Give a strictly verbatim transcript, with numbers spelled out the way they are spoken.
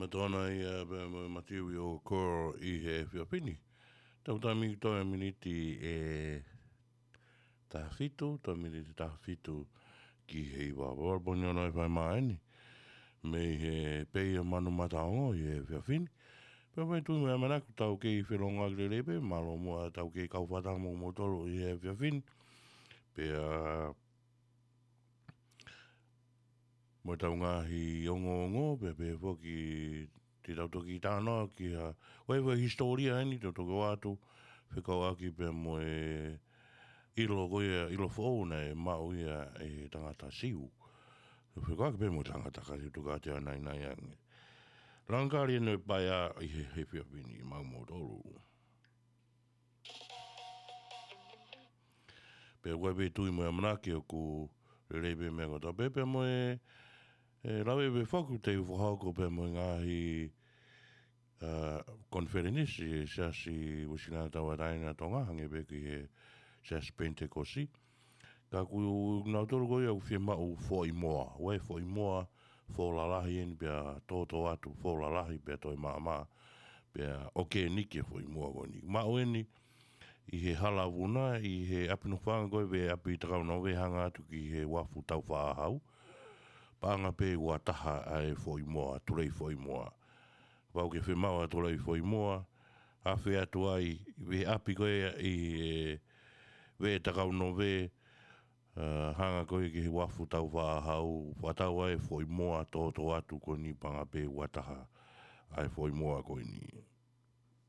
Matona ia pea mo Matiu ʻi ʻOkoro ʻi he efiafi ni. Tau tami toe miniti ʻe taha fitu, toe miniti taha fitu ki he hiva. Pea ʻalu pē ʻo ne fai mai eni. Mei he pē ia Manu Mataongo ʻi he efiafi ni. Pea ʻoku tui mo e ʻamanaki tau kei felongoaki lelei pē, mālō muʻa tau kei kau fakataha mo kimoutolu ʻi he efiafi ni. Pea mo ʻetau ngaahi ongoongo, pea pehē foki te tau toki talanoa ki ha, ʻoku ʻi ai e hisitōlia eni, te u toki ʻoatu, fekauʻaki pea mo e ʻilo ko ia, ʻilo foʻou naʻe maʻu ia ʻe he tangata Siu. Fekauʻaki pea mo e tangata Siu, tuku atu ʻa e naʻinaʻi ange. Langakali ʻeni ʻo e paea ʻi he, he efiafi ni maʻa kimoutolu. Pea ʻoku ʻi ai pē tui mo e ʻamanaki ʻoku lelei pē meʻa kotoa pē, pea mo e, e lave pē foki te u fakahoko pea mo e ngaahi, ā, konifelenisi ʻa e Siasi Uēsiliana Tauʻatāina ʻo Tonga, hangē pē ki he Siasi Penitekosi. Ka ʻoku nautolu ko ia ʻoku fiemaʻu foʻi moa. ʻOku ʻi ai e foʻi moa, foʻi lalahi eni pea tōtōatu, foʻi lalahi pea toe maʻamaʻa, pea ʻokeniki e foʻi moa ko eni. Maʻu eni ʻi he hala vuna, ʻi he ʻapi nofoʻanga ko e veʻe ʻapi Takaunove hanga atu ki he uafu Taufaʻāhau. Paʻanga pē ua taha ʻa e foʻi moa, tulei foʻi moa. Pau ke fiemaʻu ʻa e tulei foʻi moa, afe atu ai, veʻe ʻapi ko ia ʻi he veʻe Takaunove, ā, hanga ko ia ki he uafu Taufaʻāhau, fakatau ai e foʻi moa tōtōatu ko eni paʻanga pē ua taha ʻa e foʻi moa ko eni.